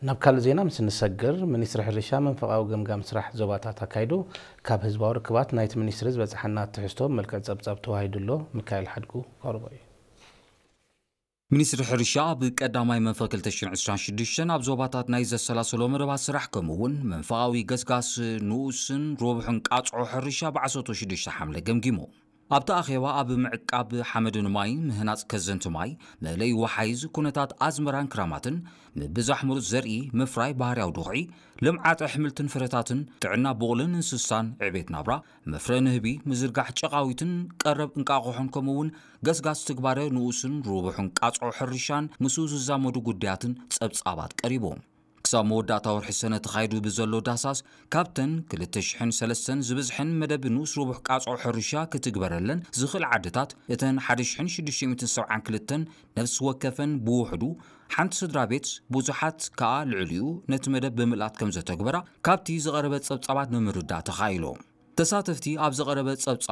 ናብ ካልእ ዜና ምስ እንሰግር፣ ሚኒስትሪ ሕርሻ መንፈቓዊ ገምጋም ስራሕ ዞባታት ኣካይዱ። ካብ ህዝባዊ ርክባት ናይቲ ሚኒስትሪ ዝበጽሓና ትሕዝቶ ብመልክዕ ጸብጻብ ተዋሂዱ ኣሎ። ሚካኤል ሓድጉ ከቕርቦ እዩ። ሚኒስትሪ ሕርሻ ኣብ ቀዳማይ መንፈ ክልተ ሽሕን ዕስራን ሽዱሽተን ኣብ ዞባታት ናይ ዘሰላሰሎ መደባት ስራሕ፣ ከምኡ እውን መንፈቓዊ ገስጋስ ንኡስን ሮብሕን ቃጽዖ ሕርሻ ብዓሰርተ ሽዱሽተ ሓምለ ገምጊሙ። ኣብቲ ኣኼባ ኣብ ምዕቃብ ሓመድን ማይን፣ ምህናጽ ከዘንቲ ማይ፣ መእለይ ወሓይዝ፣ ኩነታት ኣዝመራን ክራማትን፣ ምብዛሕ ምሩጽ ዘርኢ፣ ምፍራይ ባህርያዊ ድኹዒ፣ ልምዓት ኣሕምልትን ፍረታትን፣ ጥዕና ቡቕልን እንስሳን፣ ዕቤት ናብራ፣ መፍረ ንህቢ፣ ምዝርጋሕ ጨቓዊትን ቀረብ እንቃቑሖን፣ ከምኡ እውን ገስጋስ ትግባረ ንኡስን ርቡሕን ቃጽዖ ሕርሻን ምስኡ ዝዛመዱ ጉዳያትን ጸብጻባት ቀሪቡ። ክሳብ መወዳእታ ወርሒ ሰነ ተኻይዱ ብዘሎ ዳህሳስ፣ ካብተን ክልተ ሽሕን ሰለስተን ዝበዝሐን መደብ ንኡስ ርቡሕ ቃጽዖ ሕርሻ ክትግበረለን ዝኽእል ዓድታት፣ እተን ሓደ ሽሕን ሽዱሽተ ሚእትን ሰብዓን ክልተን ነፍሲ ወከፈን ብውሕዱ ሓንቲ ስድራ ቤት፣ ብዙሓት ከኣ ልዕሊኡ ነቲ መደብ ብምልኣት ከም ዘተግበራ ካብቲ ዝቐረበ ጸብጻባት ንምርዳእ ተኻኢሉ። ተሳተፍቲ ኣብ ዝቐረበ ጸብጻብ